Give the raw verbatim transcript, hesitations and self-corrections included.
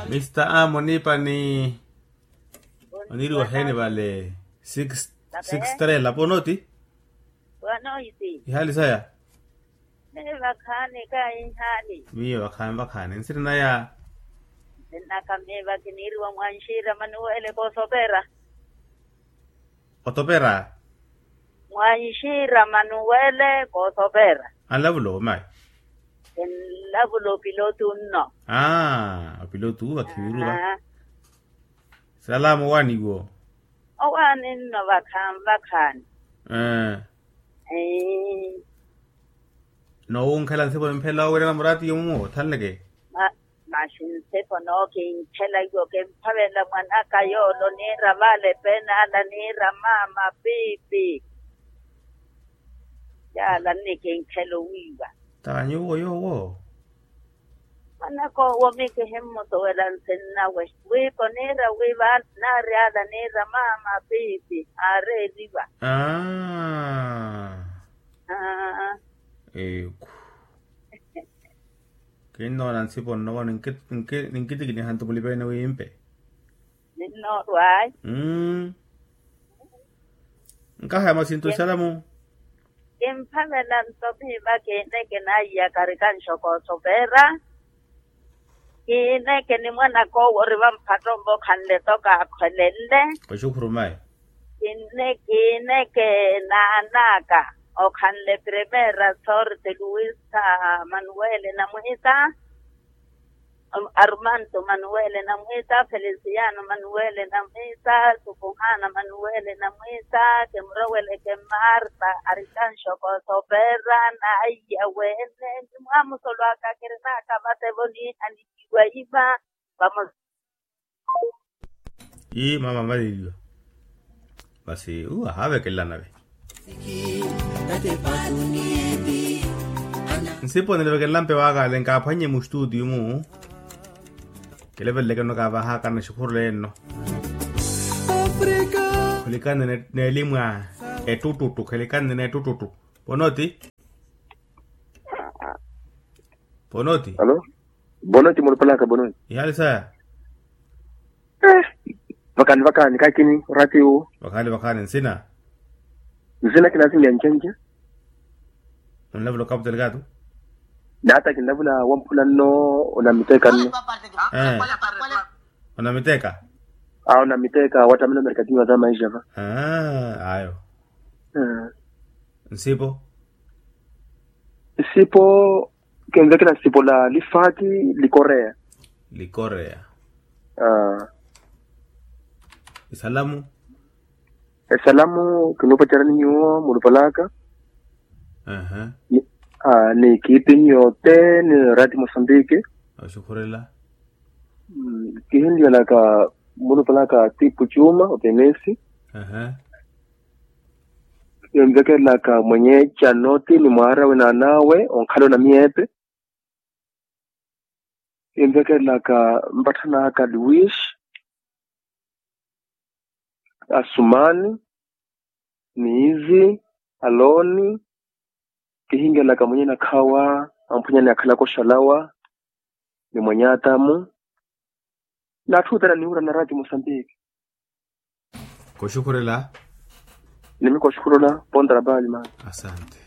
Mista a munipa ni oniriwa heni vale? Six six trela ponoti. Wanoiti? Ihali saya. Miyo vakhaani kaihali. Miyo vakhaani vakhaani nsiri naya. Nsiri naka miyo vakiniriwa mwanxira manuwele kosopera. Otopera. Mwanxira manuwele kosopera. Anlavula omayi. Enlavula opilotu nno. Aa opilotu vakhiviruva. Salama owaani iwo. Owaani nno vakhaani vakhaani. Ee. Nowunkhela nsipo nimphela owirana murati yomumo othanleke. Maxi nsipo nookinkhela iwo kimphavela mwanaka yoole oniira vale pene ala niira maama piipi. Yaala nnikinkhela owiiwa. Taanyu owo yoowo. Mwanaka owo mikihimmutuwela nsinnawe wiipa oniira wiiva naari ala niira maama piipi aareeriwa. Aa. Eku. Kinnoona nsipo nnovo. Ninkitikiniha nto mulipene wiimpe. Ninnoorwaayi. Nkahaya masinto esalamu. Kimphavela nto miiva kiineke naiyaka arikanxoko osopera. Kiineke ni mwanaka owo ori vampattombo okhanle toka akhwelenle. Oxukhuru mayi. Kiineke naanaka okhanle primera sorte luisa manuwele namwita. Armanto manuwele namwita felisiano manuwele namwita sukuhana manuwele namwita kimuroweleke marta arikanxoko sopera naiya wene. Ni mwamusolwaka kirinaka vatevo niihanikiwa ima. Vamos. Ii mama amaleliwa. Masi uwo ahaavekelela nave. Nsipo nilevekelela mpe waakale nkaaphwannye mustutiyu-mu. Kileveleleke nno kaavahaakana exukhuru lenno. Khulikane n'elimu a ettuttutu khelikane n'ettuttutu. Ponoti. Ponoti. Alo. Ponoti mulupalaka ponoti. Ihali saya. Vakani vakani kakini oratiwo. Vakani vakani nsina. Nsina kinasinja ncenje. Onlavula okaputelekatu. Nata kinlavula wamphula nno. Onamiteka nno. Onamiteka. Awo namiteka wattamina merkadinho wa tamaija va. Ayo. Nsipo. Nsipo. Kinvekela nsipo la lifati. Likoreya. Likoreya. Esalamu. Esalamu kinuupacerani nyuwo mulupalaka. Ni ekipi nyuwo ote ni rati mosambiki. Oxukhurela. Kihinlyelaka mulupalaka tipu cuma otenesi. Kinvekelelaka mwenye canoti ni mwaara winaanawe onkhala onamiyepe. Kinvekelelaka mpatthana aka luis, asumani, niizi, aloni. Kihinkelaka mwenye nakhawa amphwanyani akhalaka oxalawa ni mwenye atamu. N'atthu othene aniwura na rati mosambiki. Koxukhurela. Nimi koxukhurela. Ponta na pali mani. Asante.